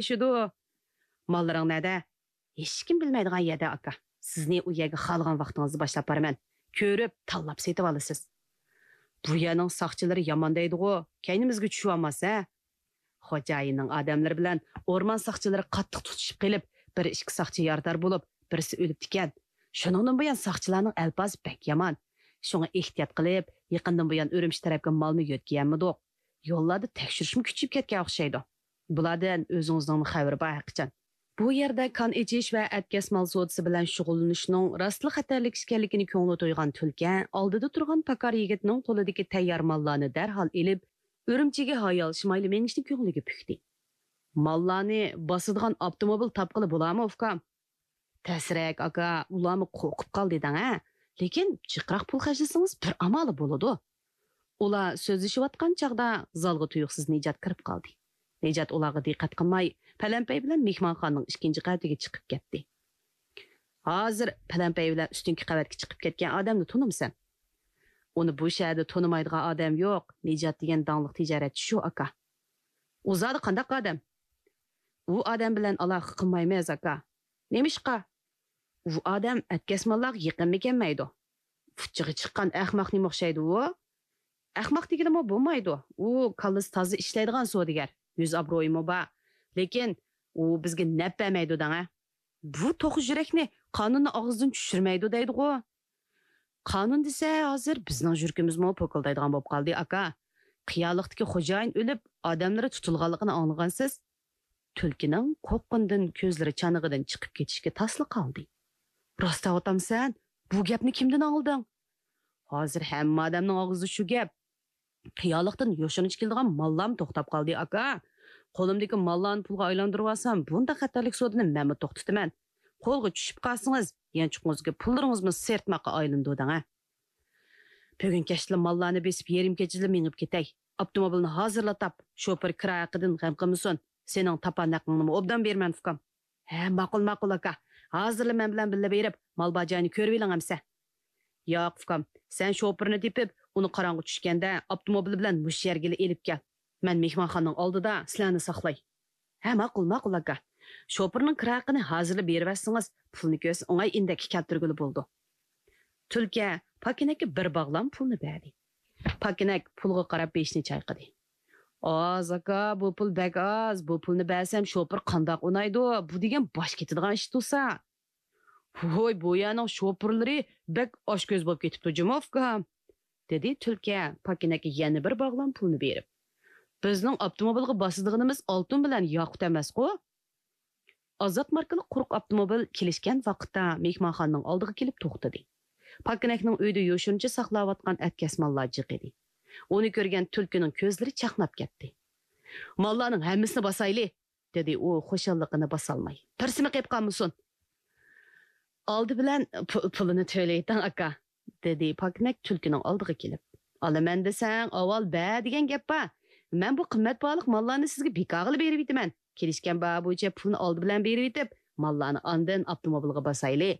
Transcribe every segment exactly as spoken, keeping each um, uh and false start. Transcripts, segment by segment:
ئېشىدۇ. ماللىرىڭ نەدە؟ ھېچكىم بىلمەيدىغان يەردە، ئاكا. سىزنى ئۇ يەرگە خالىغان ۋاقتىڭىزدا باشلاپ بارىمەن. كۆرۈپ، تاللاپ سېتىۋالىسىز. بۇ يەرنىڭ ساقچىلىرى يامان دەيدىغۇ، كەينىمىزگە چۈشۈۋالماس ھە. خوجايىننىڭ ئادەملىرى بىلەن ئورمان ساقچىلىرى قاتتىق تۇتۇشۇپ قېلىپ، بىر ئىككى ساقچى يارىدار بولۇپ، بىرسى ئۆلۈپتىكەن. شۇنىڭدىن بۇيان ساقچىلارنىڭ ئەلپازى بەك يامان. شۇڭا ئېھتىيات قىلىپ، يېقىندىن بۇيان ئۈرۈمچى تەرەپكە مالمۇ يۆتكىيەلمىدۇق. يوللاردا تەكشۈرۈشمۇ كۈچىيىپ كەتكەن ئوخشايدۇ. بۇلاردىن ئۆزىڭىزنىڭمۇ خەۋىرى بار ھەقىچان. بۇ يەردە كان ئېچىش ۋە ئەتكەس مال سودىسى بىلەن شۇغۇللىنىشنىڭ راستلا خەتەرلىك ئىكەنلىكىنى كۆڭلى تويغان تۈلكە ئالدىدا تۇرغان پاكار يىگىتنىڭ قولىدىكى تەييار ماللارنى دەرھال ئېلىپ، ئۈرۈمچىگە ھايالشىمايلا مېڭىشنى كۆڭلىگە پۈكتى. ماللارنى باسىدىغان ئاپتوموبىل تاپقىلى بولارمۇ، ئۇكام؟ تەسرەك، ئاكا، ئۇلارمۇ قورقۇپ قالدى دەڭ ھە. لېكىن جىقراق پۇل خەجلىسىڭىز بىر ئامالى بولىدۇ. ئۇلار سۆزلىشىۋاتقان چاغدا زالغا تۇيۇقسىز نىجات كىرىپ قالدى. نىجات ئۇلارغا دىققەت قىلماي، پەلەمپەي بىلەن مېھمانخانىنىڭ ئىككىنچى قەۋەتىگە چىقىپ كەتتى. ھازىر پەلەمپەي بىلەن ئۈستۈنكى قەۋەتكە چىقىپ كەتكەن ئادەمنى تونۇمسەن؟ ئۇنى بۇ شەھەردە تونۇمايدىغان ئادەم يوق، نىجات دېگەن داڭلىق تىجارەتچى شۇ، ئاكا. ئۇ زادى قانداق ئادەم؟ ئۇ ئادەم بىلەن ئالاقە قىلمايمىز، ئاكا. نېمىشقا؟ ئۇ ئادەم ئەتكەسمانلارغا يېقىنمۇ كەلمەيدۇ. ئۇچىغا چىققان ئەخمەق نېمە ئوخشايدۇ ئۇ؟ ئەخمەق دېگىلىمۇ بولمايدۇ. ئۇ كاللىسى تازا ئىشلەيدىغان سودىگەر، يۈز ئابرۇيىمۇ بار. لېكىن ئۇ بىزگە نەپ بەرمەيدۇ دەڭە. بۇ توخۇ يۈرەكنى قانۇننى ئاغزىدىن چۈشۈرمەيدۇ دەيدىغۇ. قانۇن دېسە، ھازىر بىزنىڭ يۈرىكىمىزمۇ پوكۇلدايدىغان بولۇپ قالدى، ئاكا. قىيالىقتىكى خوجايىن ئۆلۈپ، ئادەملىرى تۇتۇلغانلىقىنى ئاڭلىغانسىز؟ تۈلكىنىڭ قورققىنىدىن كۆزلىرى چانىقىدىن چىقىپ كېتىشكە تاسلا قالدى. راست دەۋاتامسەن؟ بۇ گەپنى كىمدىن ئاڭلىدىڭ؟ ھازىر ھەممە ئادەمنىڭ ئاغزىدا شۇ گەپ. قىيالىقتىن يوشۇرۇنچە كېلىدىغان ماللارمۇ توختاپ قالدى، ئاكا. قولۇمدىكى ماللارنى پۇلغا ئايلاندۇرۇۋالسام، بۇنداق خەتەرلىك سودىنى مەنمۇ توختىتىمەن. قولغا چۈشۈپ قالسىڭىز، يانچۇقىڭىزدىكى پۇللىرىڭىزمۇ سىرتماققا ئايلىنىدۇ دەڭە. بۈگۈن كەچتىلا ماللارنى بېسىپ، يېرىم كېچىدىلا مېڭىپ كېتەي. ئاپتوموبىلنى ھازىرلا تاپ، شوپۇر كىرايە ھەققىدىن غەم قىلمىسۇن. سېنىڭ تاپان ھەققىڭنىمۇ ئوبدان بېرىمەن، ئۇكام. ھە، ماقۇل، ماقۇل، ئاكا. ھازىرلا مەن بىلەن بىللە بېرىپ، مال بار جاينى كۆرۈۋېلىڭ ئەمسە. ياق، ئۇكام، سەن شوپۇرنى تېپىپ، ئۇنى قاراڭغۇ چۈشكەندە ئاپتوموبىل بىلەن مۇشۇ يەرگىلا ئېلىپ كەل. مەن مېھمانخانىنىڭ ئالدىدا سىلەرنى ساقلاي. ھە، ماقۇل، ماقۇل، ئاكا. شوپۇرنىڭ كىرا ھەققىنى ھازىرلا بېرىۋەتسىڭىز، پۇلنى كۆرسە ئوڭاي ئىندەككە كەلتۈرگىلى بولىدۇ. تۈلكە پاكىنەككە بىر باغلام پۇلنى بەردى. پاكىنەك پۇلغا قاراپ بېشىنى چايقىدى. ئاز، ئاكا، بۇ پۇل بەك ئاز. بۇ پۇلنى بەرسەم، شوپۇر قانداق ئۇنايدۇ؟ بۇ دېگەن باش كېتىدىغان ئىش تۇرسا. ۋوي، بۇ يەرنىڭ شوپۇرلىرى بەك ئاچكۆز بولۇپ كېتىپتۇ جۇمۇ، ئۇكام، دېدى تۈلكە پاكىنەككە يەنە بىر باغلام پۇلنى بېرىپ. بىزنىڭ ئاپتوموبىلغا باسىدىغىنىمىز ئالتۇن بىلەن ياقۇت ئەمەسقۇ؟ ئازات ماركىلىق قۇرۇق ئاپتوموبىل كېلىشكەن ۋاقىتتا مېھمانخانىنىڭ ئالدىغا كېلىپ توختىدى. پاكىنەكنىڭ ئۆيدە يوشۇرۇنچە ساقلاۋاتقان ئەتكەسمانلار جىق ئىدى. ئۇنى كۆرگەن تۈلكىنىڭ كۆزلىرى چاقناپ كەتتى. ماللارنىڭ ھەممىسىنى باسايلى، دېدى ئۇ خۇشاللىقىنى باسالماي. بىرسىمۇ قېلىپ قالمىسۇن. ئالدى بىلەن پۇ-، پۇلىنى تۆلەيتىڭ، ئاكا، دېدى پاكىنەك تۈلكىنىڭ ئالدىغا كېلىپ. ئالىمەن دېسەڭ، ئاۋۋال بەر دېگەن گەپ بار. مەن بۇ قىممەت باھالىق ماللارنى سىزگە بىكارغىلا بېرىۋېتىمەن. كېلىشكەن باھا بويىچە پۇلنى ئالدى بىلەن بېرىۋېتىپ، ماللارنى ئاندىن ئاپتوموبىلغا باسايلى.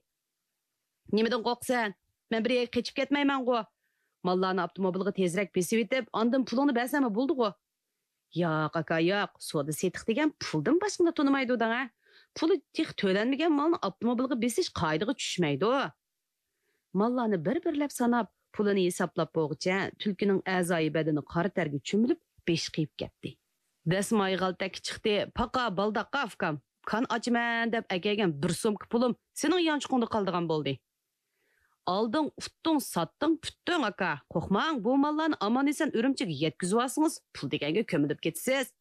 نېمىدىن قورقىسەن؟ مەن بىر يەرگە قېچىپ كەتمەيمەنغۇ. ماللارنى ئاپتوموبىلغا تېزرەك بېسىۋېتىپ، ئاندىن پۇلۇڭنى بەرسەممۇ بولىدىغۇ. ياق، ئاكا، ياق. سودا سېتىق دېگەن پۇلدىن باشقىنى تونۇمايدۇ دەڭە. پۇلى تېخى تۆلەنمىگەن مالنى ئاپتوموبىلغا بېسىش قائىدىگە چۈشمەيدۇ. ماللارنى بىر-بىرلەپ ساناپ، پۇلىنى ھېسابلاپ بولغۇچە، تۈلكىنىڭ ئەزايى بەدىنى قارا تەرگە چۆمۈلۈپ، بېشى قېيىپ كەتتى. دەسمايى غالتەككە چىقتى، پاقا بالداققا ئۇكام. كان ئاچىمەن دەپ ئەكەلگەن بىر سومكا پۇلۇم سېنىڭ يانچۇقۇڭدا قالىدىغان بولدى. ئالدىڭ، ئۇتتۇڭ، ساتتىڭ، پۈتتۈڭ، ئاكا. قورقماڭ، بۇ ماللارنى ئامان-ئېسەن ئۈرۈمچىگە يەتكۈزۈۋالسىڭىز، پۇل دېگەنگە كۆمۈلۈپ كېتىسىز.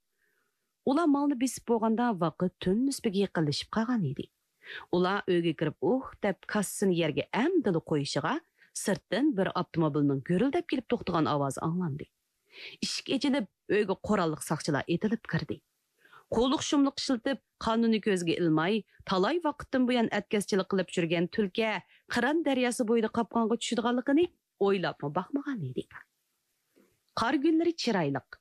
ئۇلار مالنى بېسىپ بولغاندا، ۋاقىت تۈن نىسبىگە يېقىنلىشىپ قالغان ئىدى. ئۇلار ئۆيگە كىرىپ، ئۇھ دەپ كاسىسىنى يەرگە ئەمدىلا قويۇشىغا، سىرتتىن بىر ئاپتوموبىلنىڭ گۈرۈلدەپ كېلىپ توختىغان ئاۋازى ئاڭلاندى. ئىشىك ئېچىلىپ، ئۆيگە قوراللىق ساقچىلار ئېتىلىپ كىردى. قۇۋلۇق شۇملۇق ئىشلىتىپ، قانۇننى كۆزگە ئىلماي، تالاي ۋاقىتتىن بۇيان ئەتكەسچىلىك قىلىپ يۈرگەن تۈلكە قىران دەرياسى بويىدا قاپقانغا چۈشىدىغانلىقىنى ئويلاپمۇ باقمىغان ئىدى. قار كۈنلىرى چىرايلىق.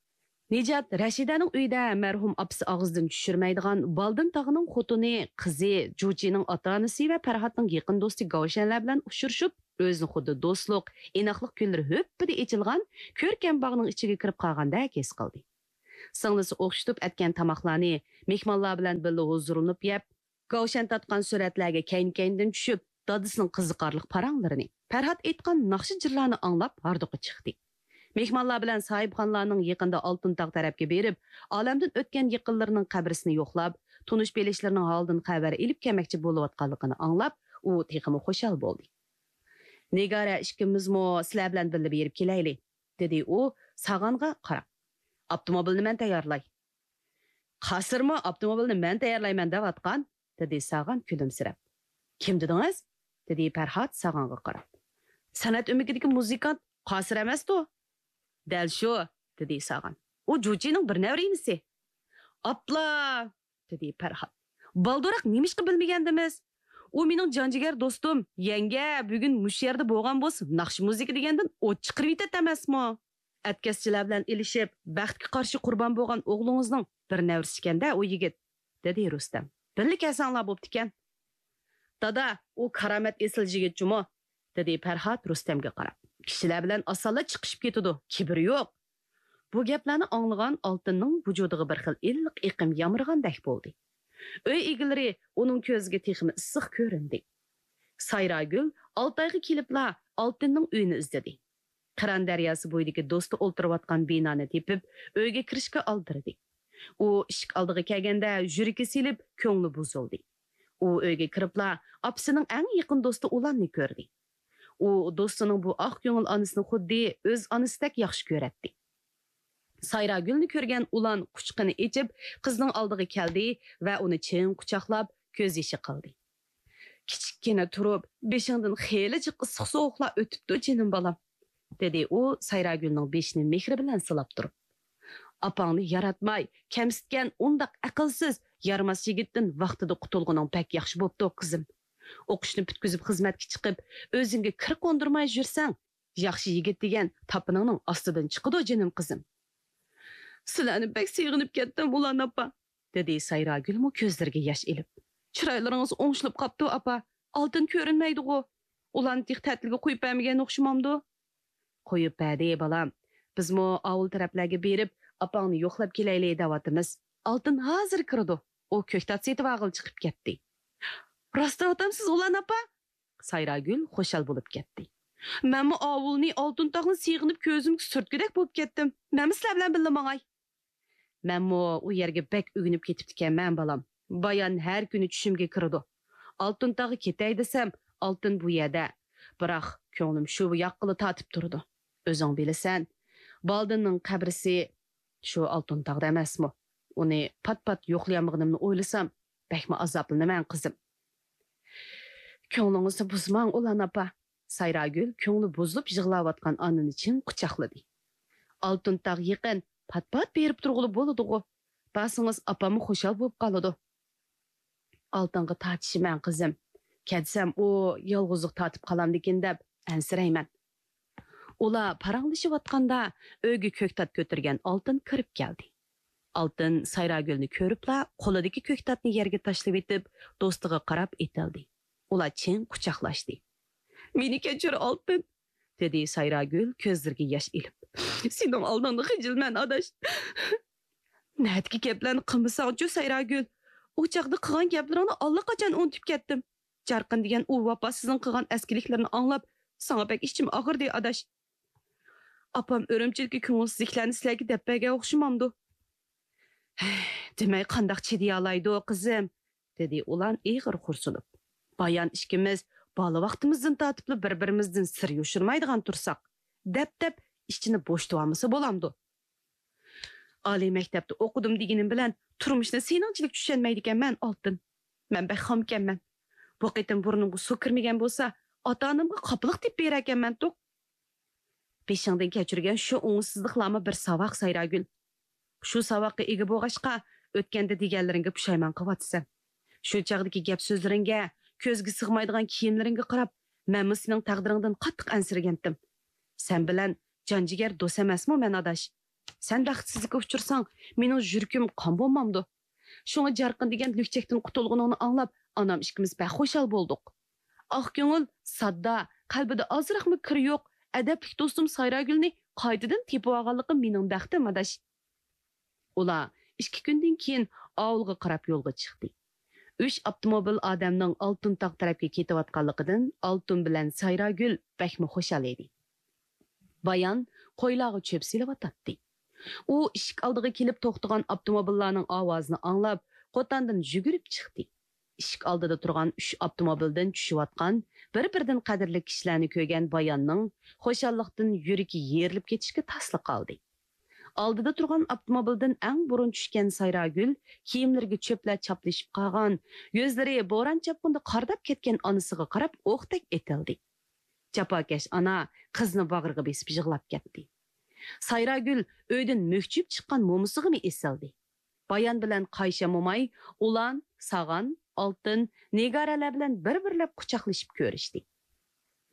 نىجات رەشىدەنىڭ ئۆيىدە مەرھۇم ئاپىسى ئاغزىدىن چۈشۈرمەيدىغان بالدىن تاغىنىڭ خوتۇنى، قىزى، جۇچىنىڭ ئاتا-ئانىسى ۋە پەرھاتنىڭ يېقىن دوستى گاۋشەنلەر بىلەن ئۇچرىشىپ، ئۆزىنى خۇددى دوستلۇق، ئىناقلىق كۈنلىرى ھۈپپىدە ئېچىلغان كۆركەم باغنىڭ ئىچىگە كىرىپ قالغاندەك ھېس قىلدى. سىڭلىسى ئوخشىتىپ ئەتكەن تاماقلارنى مېھمانلار بىلەن بىللە ھۇزۇرلىنىپ يەپ، كاۋشان تارتقان سۈرەتلەرگە كەينى-كەينىدىن چۈشۈپ، دادىسىنىڭ قىزىقارلىق پاراڭلىرىنى، پەرھات ئېيتقان ناخشا-جىرلارنى ئاڭلاپ ھاردۇقى چىقتى. مېھمانلار بىلەن ساھىبخانلارنىڭ يېقىندا ئالتۇن تاغ تەرەپكە بېرىپ، ئالەمدىن ئۆتكەن يېقىنلىرىنىڭ قەبرىسىنى يوقلاپ، تونۇش-بىلىشلىرىنىڭ ھالىدىن خەۋەر ئېلىپ كەلمەكچى بولۇۋاتقانلىقىنى ئاڭلاپ، ئۇ تېخىمۇ خۇشال بولدى. نىگارە ئىككىمىزمۇ سىلەر بىلەن بىللە بېرىپ كېلەيلى، دېدى ئۇ ساغانغا قاراپ. ئاپتوموبىلنى مەن تەييارلاي. قاسىرمۇ ئاپتوموبىلنى مەن تەييارلايمەن دەۋاتقان، دېدى ساغان كۈلۈمسىرەپ. كىم دېدىڭىز؟ دېدى پەرھات ساغانغا قاراپ. سەنئەت ئۆمىكىدىكى مۇزىكانت قاسىر ئەمەستۇ؟ دەل شۇ، دېدى ساغان. ئۇ جۇچىنىڭ بىر نەۋرە ئىنىسى. ئاپلا! دېدى پەرھات. بالدۇراق نېمىشقا بىلمىگەندىمىز؟ ئۇ مېنىڭ جانجىگەر دوستۇم، يەڭگە بۈگۈن مۇشۇ يەردە بولغان بولسا، ناخشا مۇزىكا دېگەندىن ئوت چىقىرىۋېتەتتى ئەمەسمۇ؟ ئەتكەسچىلەر بىلەن ئېلىشىپ، بەختكە قارشى قۇربان بولغان ئوغلىڭىزنىڭ بىر نەۋرىسىكەن-دە ئۇ يىگىت، دېدى رۇستەم. بىللە كەلسەڭلار بوپتىكەن. دادا، ئۇ كارامەت ئېسىل يىگىت جۇمۇ، دېدى پەرھات رۇستەمگە قاراپ. كىشىلەر بىلەن ئاسانلا چىقىشىپ كېتىدۇ، كىبىرى يوق. بۇ گەپلەرنى ئاڭلىغان ئالتىننىڭ ۋۇجۇدىغا بىر خىل ئىللىق ئېقىم يامرىغاندەك بولدى. ئۆي ئىگىلىرى ئۇنىڭ كۆزىگە تېخىمۇ ئىسسىق كۆرۈندى. سايراگۈل ئالتايغا كېلىپلا ئالتىننىڭ ئۆيىنى ئىزدىدى. قىران دەرياسى بويىدىكى دوستى ئولتۇرۇۋاتقان بىنانى تېپىپ، ئۆيگە كىرىشكە ئالدىرىدى. ئۇ ئىشىك ئالدىغا كەلگەندە يۈرىكى سېلىپ، كۆڭلى بۇزۇلدى. ئۇ ئۆيگە كىرىپلا ئاپىسىنىڭ ئەڭ يېقىن دوستى ئۇلاننى كۆردى. ئۇ دوستىنىڭ بۇ ئاق كۆڭۈل ئانىسىنى خۇددى ئۆز ئانىسىدەك ياخشى كۆرەتتى. سايراگۈلنى كۆرگەن ئۇلان قۇچىقىنى ئېچىپ، قىزنىڭ ئالدىغا كەلدى ۋە ئۇنى چىڭ قۇچاقلاپ، كۆز يېشى قىلدى. كىچىككىنە تۇرۇپ، بېشىڭدىن خېلى جىق ئىسسىق-سوغۇقلار ئۆتۈپتۇ، جېنىم بالام، دېدى ئۇ سايراگۈلنىڭ بېشىنى مېھرى بىلەن سىلاپ تۇرۇپ. ئاپاڭنى ياراتماي، كەمسىتكەن ئۇنداق ئەقىلسىز، يارىماس يىگىتتىن ۋاقتىدا قۇتۇلغىنىڭ بەك ياخشى بوپتۇ، قىزىم. ئوقۇشنى پۈتكۈزۈپ خىزمەتكە چىقىپ، ئۆزۈڭگە كىر قوندۇرماي يۈرسەڭ، ياخشى يىگىت دېگەن تاپىنىڭنىڭ ئاستىدىن چىقىدۇ، جېنىم قىزىم. سىلەرنى بەك سېغىنىپ كەتتىم، ئۇلان ئاپا، دېدى سايراگۈلمۇ كۆزلىرىگە ياش ئېلىپ. چىرايلىرىڭىز ئوڭشىلىپ قاپتۇ، ئاپا. ئالتىن كۆرۈنمەيدىغۇ؟ ئۇلان تېخى تەتىلگە قويۇپ بەرمىگەن ئوخشىمامدۇ؟ قويۇپ بەردى، بالام. بىزمۇ ئاۋۇل تەرەپلەرگە بېرىپ، ئاپاڭنى يوقلاپ كېلەيلى دەۋاتىمىز. ئالتىن ھازىر كىرىدۇ. ئۇ كۆكتات سېتىۋالغىلى چىقىپ كەتتى. راست دەۋاتامسىز، ئۇلان ئاپا؟ سايراگۈل خۇشال بولۇپ كەتتى. مەنمۇ ئاۋۇلنى، ئالتۇن تاغنى سېغىنىپ كۆزۈمگە سۈرتكۈدەك بولۇپ كەتتىم. مەنمۇ سىلەر بىلەن بىللە ماڭاي. مەنمۇ ئۇ يەرگە بەك ئۆگىنىپ كېتىپتىكەنمەن، بالام. بايان ھەر كۈنى چۈشۈمگە كىرىدۇ. ئالتۇن تاغقا كېتەي دېسەم، ئالتۇن بۇ يەردە. بىراق، كۆڭلۈم شۇ ياققىلا تارتىپ تۇرىدۇ. ئۆزۈڭ بىلىسەن، بالدىننىڭ قەبرىسى شۇ ئالتۇن تاغدا ئەمەسمۇ؟ ئۇنى پات-پات يوقلىيالمىغىنىمنى ئويلىسام، بەكمۇ ئازابلىنىمەن، قىزىم. كۆڭلىڭىزنى بۇزماڭ، ئۇلان ئاپا. سايراگۈل كۆڭلى بۇزۇلۇپ يىغلاۋاتقان ئانىنى چىڭ قۇچاقلىدى. ئالتۇن تاغ يېقىن، پات-پات بېرىپ تۇرغىلى بولىدىغۇ. بارسىڭىز ئاپاممۇ خۇشال بولۇپ قالىدۇ. ئالتۇنغا تارتىشىمەن، قىزىم. كەتسەم ئۇ يالغۇزلۇق تارتىپ قالامدىكىن دەپ ئەنسىرەيمەن. ئۇلار پاراڭلىشىۋاتقاندا ئۆيگە كۆكتات كۆتۈرگەن ئالتۇن كىرىپ كەلدى. ئالتۇن سايراگۈلنى كۆرۈپلا قولىدىكى كۆكتاتنى يەرگە تاشلىۋېتىپ، دوستىغا قاراپ ئېتىلدى. ئۇلار چىڭ قۇچاقلاشتى. مېنى كەچۈر، ئالتۇن، دېدى سايراگۈل كۆزلىرىگە ياش ئېلىپ. سېنىڭ ئالدىڭدا خىجىلمەن، ئاداش. نەدىكى گەپلەرنى قىلمىساڭچۇ، سايراگۈل؟ ئۇ چاغدا قىلغان گەپلىرىڭنى ئاللىقاچان ئۇنتۇپ كەتتىم. جارقىن دېگەن ئۇ ۋاپاسىزنىڭ قىلغان ئەسكىلىكلىرىنى ئاڭلاپ، ساڭا بەك ئىچىم ئاغرىدى، ئاداش. ئاپام ئۈرۈمچىدىكى كۆڭۈلسىزلىكلەرنى سىلەرگە دەپ بەرگەن ئوخشىمامدۇ؟ دېمەي قانداق چىدىيالايدۇ، قىزىم؟ دېدى ئۇلان ئېغىر خورسىنىپ. بايان ئىككىمىز بالا ۋاقتىمىزدىن تارتىپلا بىر-بىرىمىزدىن سىر يوشۇرمايدىغان تۇرساق، دەپ-دەپ ئىچىنى بوشىتىۋالمىسا بولامدۇ؟ ئالىي مەكتەپتە ئوقۇدۇم دېگىنىم بىلەن تۇرمۇشنى سېنىڭچىلىك چۈشەنمەيدىكەنمەن، ئالتۇن. مەن بەك خامكەنمەن. بۇ قېتىم بۇرنۇمغا سۇ كىرمىگەن بولسا، ئاتا-ئانامغا قاپىلىق تېپىپ بېرەركەنمەن توق. بېشىڭدىن كەچۈرگەن شۇ ئوڭۇشسىزلىقلارمۇ بىر ساۋاق، سايراگۈل. شۇ ساۋاققا ئىگە بولغاچقا، ئۆتكەندە دېگەنلىرىڭگە پۇشايمان قىلىۋاتىسەن. شۇ چاغدىكى گەپ-سۆزلىرىڭگە، كۆزگە سىغمايدىغان كىيىملىرىڭگە قاراپ، مەنمۇ سېنىڭ تەقدىرىڭدىن قاتتىق ئەنسىرىگەنتىم. سەن بىلەن جان-جىگەر دوست ئەمەسمۇ مەن، ئاداش؟ سەن بەختسىزلىككە ئۇچرىساڭ، مېنىڭ يۈرىكىم قان بولمامدۇ؟ شۇڭا جارقىن دېگەن لۈكچەكتىن قۇتۇلغىنىڭنى ئاڭلاپ، ئانام ئىككىمىز بەك خۇشال بولدۇق. ئاق كۆڭۈل، ساددا، قەلبىدە ئازراقمۇ كىرى يوق، ئەدەپلىك دوستۇم سايراگۈلنى قايتىدىن تېپىۋالغانلىقىم مېنىڭ بەختىم، ئاداش. ئۇلار ئىككى كۈندىن كېيىن ئاۋۇلغا قاراپ يولغا چىقتى. ئۈچ ئاپتوموبىل ئادەمنىڭ ئالتۇن تاغ تەرەپكە كېتىۋاتقانلىقىدىن ئالتۇن بىلەن سايراگۈل بەكمۇ خۇشال ئىدى. بايان قويلارغا چۆپ سېلىۋاتاتتى. ئۇ ئىشىك ئالدىغا كېلىپ توختىغان ئاپتوموبىللارنىڭ ئاۋازىنى ئاڭلاپ، قوتاندىن يۈگۈرۈپ چىقتى. ئىشىك ئالدىدا تۇرغان ئۈچ ئاپتوموبىلدىن چۈشۈۋاتقان بىر-بىرىدىن قەدىرلىك كىشىلەرنى كۆرگەن باياننىڭ خۇشاللىقتىن يۈرىكى يېرىلىپ كېتىشكە تاسلا قالدى. ئالدىدا تۇرغان ئاپتوموبىلدىن ئەڭ بۇرۇن چۈشكەن سايراگۈل كىيىملىرىگە چۆپلەر چاپلىشىپ قالغان، يۈزلىرى بوران-چاپقۇندا قارىداپ كەتكەن ئانىسىغا قاراپ ئوقتەك ئېتىلدى. جاپاكەش ئانا قىزنى باغرىغا بېسىپ يىغلاپ كەتتى. سايراگۈل ئۆيدىن مۈكچىيىپ چىققان مومىسىغىمۇ ئېسىلدى. بايان بىلەن قايشا موماي ئۇلان، ساغان، ئالتىن، نىگارەلەر بىلەن بىر-بىرلەپ قۇچاقلىشىپ كۆرۈشتى.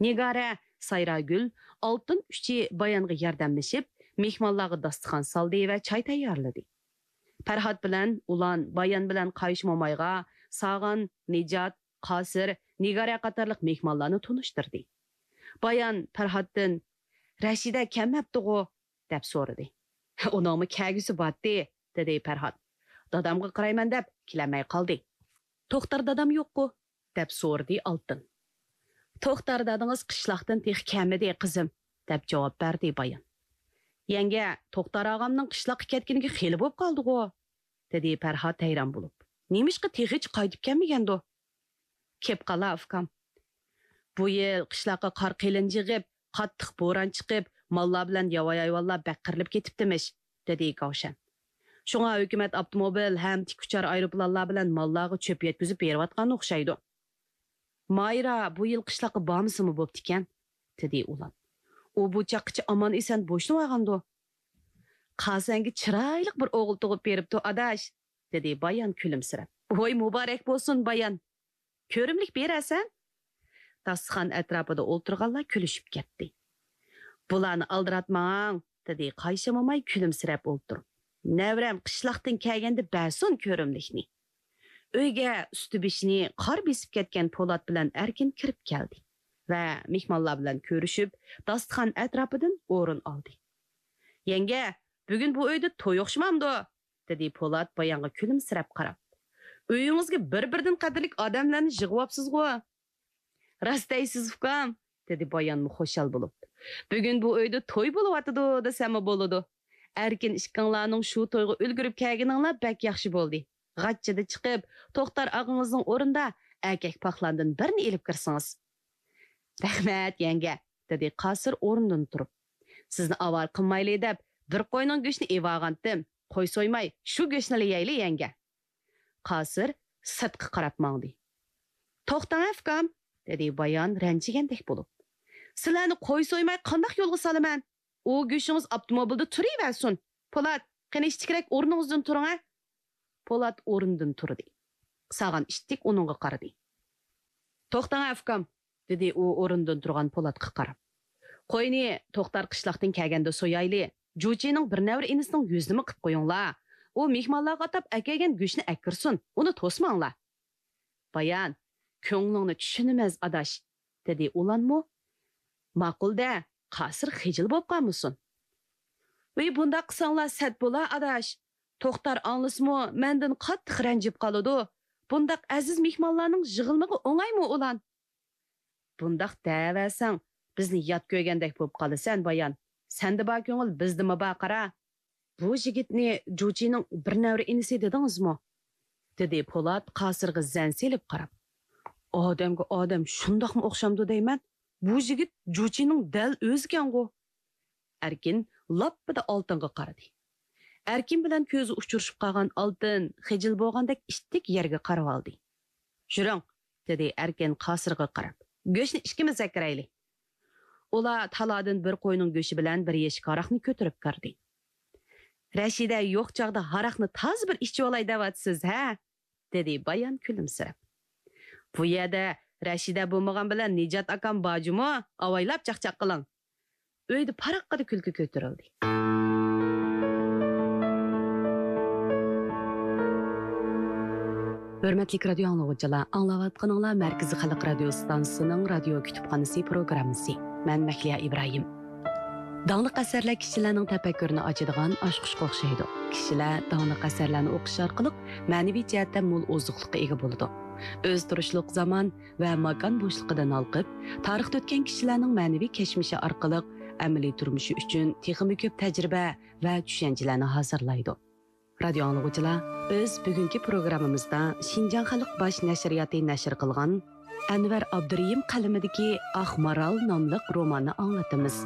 نىگارە، سايراگۈل، ئالتىن ئۈچى بايانغا ياردەملىشىپ، مېھمانلارغا داستىخان سالدى ۋە چاي تەييارلىدى. پەرھات بىلەن ئۇلان بايان بىلەن قايشا مومايغا ساغان، نىجات، قاسىر، نىگارە قاتارلىق مېھمانلارنى تونۇشتۇردى. بايان پەرھاتتىن، «رەشىدە كەلمەپتىغۇ؟» دەپ سورىدى. «ئۇنىڭمۇ كەلگۈسى بارتتى»، دېدى پەرھات. «دادامغا قارايمەن دەپ كېلەلمەي قالدى.» «توختار دادام يوققۇ؟» دەپ سورىدى ئالتىن. «توختار دادىڭىز قىشلاقتىن تېخى كەلمىدى، قىزىم»، دەپ جاۋاب بەردى بايان. «يەڭگە، توختار ئاغامنىڭ قىشلاققا كەتكىنىگە خېلى بولۇپ قالدىغۇ؟» دېدى پەرھات ھەيران بولۇپ. «نېمىشقا تېخىچە قايتىپ كەلمىگەندۇ؟» «كېلىپ قالا، ئۇكام. بۇ يىل قىشلاققا قار قېلىن يېغىپ، قاتتىق بوران چىقىپ، ماللار بىلەن ياۋايى ھايۋانلار بەك قىرىلىپ كېتىپتىمىش»، دېدى گاۋشەن. «شۇڭا ھۆكۈمەت ئاپتوموبىل ھەم تىك ئۇچار ئايروپىلانلار بىلەن ماللارغا چۆپ يەتكۈزۈپ بېرىۋاتقان ئوخشايدۇ.» «مايرا بۇ يىل قىشلاققا بارمىسىمۇ بوپتىكەن»، دېدى ئۇلان. «ئۇ بۇ چاغقىچە ئامان-ئېسەن بوشىنىۋالغاندۇ؟» «قاسەنگە چىرايلىق بىر ئوغۇل تۇغۇپ بېرىپتۇ، ئاداش»، دېدى بايان كۈلۈمسىرەپ. «ۋوي، مۇبارەك بولسۇن، بايان! كۆرۈملۈك بېرەرسەن.» داستىخان ئەتراپىدا ئولتۇرغانلار كۈلۈشۈپ كەتتى. «بۇلارنى ئالدىراتماڭ»، دېدى قايشا موماي كۈلۈمسىرەپ ئولتۇرۇپ. «نەۋرەم قىشلاقتىن كەلگەندە بەرسۇن كۆرۈملۈكنى.» ئۆيگە ئۈستى بېشىنى قار بېسىپ كەتكەن پولات بىلەن ئەركىن كىرىپ كەلدى ۋە مېھمانلار بىلەن كۆرۈشۈپ، داستىخان ئەتراپىدىن ئورۇن ئالدى. «يەڭگە، بۈگۈن بۇ ئۆيدە توي ئوخشىمامدۇ؟» دېدى پولات بايانغا كۈلۈمسىرەپ قاراپ. «ئۆيىڭىزگە بىر-بىردىن قەدىرلىك ئادەملەرنى يىغىۋاپسىزغۇ؟» «راست دەيسىز، ئۇكام»، دېدى بايانمۇ خۇشال بولۇپ. «بۈگۈن بۇ ئۆيدە توي بولۇۋاتىدۇ دېسەممۇ بولىدۇ. ئەركىن ئىككىڭلارنىڭ شۇ تويغا ئۈلگۈرۈپ كەلگىنىڭلار بەك ياخشى بولدى. غاچچىدا چىقىپ، توختار ئاغىڭىزنىڭ ئورنىدا ئەركەك پاقلاندىن بىرنى ئېلىپ كىرسىڭىز.» «رەھمەت، يەڭگە»، دېدى قاسىر ئورنىدىن تۇرۇپ. «سىزنى ئاۋارە قىلمايلى دەپ، بىر قوينىڭ گۆشىنى ئېۋالغانتىم. قوي سويماي، شۇ گۆشنىلا يەيلى، يەڭگە.» قاسىر سىرتقا قاراپ ماڭدى. «توختاڭ، ئۇكام»، دېدى بايان رەنجىگەندەك بولۇپ. «سىلەرنى قوي سويماي قانداق يولغا سالىمەن؟ ئۇ گۆشىڭىز ئاپتوموبىلدا تۇرۇۋەرسۇن. پولات، قېنى ئىتتىكرەك ئورنىڭىزدىن تۇرۇڭ-ە.» پولات ئورنىدىن تۇردى. ساغان ئىتتىك ئۇنىڭغا قارىدى. «توختاڭ، ئۇكام»، دېدى ئۇ ئورنىدىن تۇرغان پولاتقا قاراپ. «قوينى توختار قىشلاقتىن كەلگەندە سويايلى. جۇچىنىڭ بىر نەۋرە ئىنىسىنىڭ يۈزىنىمۇ قىپ قويۇڭلار. ئۇ مېھمانلارغا ئاتاپ ئەكەلگەن گۆشنى ئەكىرسۇن. ئۇنى توسماڭلار.» «بايان، كۆڭلۈڭنى چۈشىنىمىز، ئاداش»، دېدى ئۇلانمۇ. «ماقۇل-دە، قاسىر خىجىل بوپ قالمىسۇن.» «ۋىي، بۇنداق قىلساڭلار سەت بولا، ئاداش. توختار ئاڭلىسىمۇ مەندىن قاتتىق رەنجىپ قالىدۇ. بۇنداق ئەزىز مېھمانلارنىڭ يىغىلمىقى ئوڭايمۇ، ئۇلان؟» «بۇنداق دەۋەرسەڭ، بىزنى يات كۆرگەندەك بولۇپ قالىسەن، بايان. سەندە بار كۆڭۈل بىزدىمۇ بار، قارا. بۇ يىگىتنى جۇچىنىڭ بىر نەۋرە ئىنىسى دېدىڭىزمۇ؟» دېدى پولات قاسىرغا زەن سېلىپ قاراپ. «ئادەمگە ئادەم شۇنداقمۇ ئوخشامدۇ دەيمەن؟ بۇ يىگىت جۇچىنىڭ دەل ئۆزىكەنغۇ.» ئەركىن لاپپىدە ئالتىنغا قارىدى. ئەركىن بىلەن كۆزى ئۇچرىشىپ قالغان ئالتىن خىجىل بولغاندەك ئىتتىك يەرگە قارىۋالدى. «يۈرۈڭ»، دېدى ئەركىن قاسىرغا قاراپ. «گۆشنى ئىككىمىز ئەكىرەيلى.» ئۇلار تالادىن بىر قوينىڭ گۆشى بىلەن بىر يەشىك ھاراقنى كۆتۈرۈپ كىردى. «رەشىدە يوق چاغدا ھاراقنى تازا بىر ئىچىۋالاي دەۋاتىسىز، ھە؟» دېدى بايان كۈلۈمسىرەپ. «بۇ يەردە رەشىدە بولمىغان بىلەن نىجات ئاكام بار جۇمۇ، ئاۋايلاپ چاقچاق قىلىڭ.» ئۆيدە پاراققىدە كۈلكە كۆتۈرۈلدى. ھۆرمەتلىك رادىيو ئاڭلىغۇچىلار، ئاڭلاۋاتقىنىڭلار مەركىزىي خەلق رادىيو ئىستانسىسىنىڭ رادىيو كۇتۇپخانىسى پروگراممىسى. مەن مەھلىيا ئىبراھىم. داڭلىق ئەسەرلەر كىشىلەرنىڭ تەپەككۇرىنى ئاچىدىغان ئاچقۇچقا ئوخشايدۇ. كىشىلەر داڭلىق ئەسەرلەرنى ئوقۇش ئارقىلىق مەنىۋى جەھەتتە مول ئوزۇقلۇققا ئىگە بولىدۇ. ئۆز تۇرۇشلۇق زامان ۋە ماكان بوشلۇقىدىن ھالقىپ، تارىختا ئۆتكەن كىشىلەرنىڭ مەنىۋى كەچمىشى ئارقىلىق ئەمەلىي تۇرمۇشى ئۈچۈن تېخىمۇ كۆپ تەجرىبە ۋە چۈشەنچىلەرنى ھازىرلايدۇ. رادىيو ئاڭلىغۇچىلار، بىز بۈگۈنكى پروگراممىمىزدا شىنجاڭ خەلق باش نەشرىياتى نەشر قىلغان ئەنۋەر ئابدۇرېھىم قەلىمىدىكى ئاق مارال ناملىق روماننى ئاڭلىتىمىز.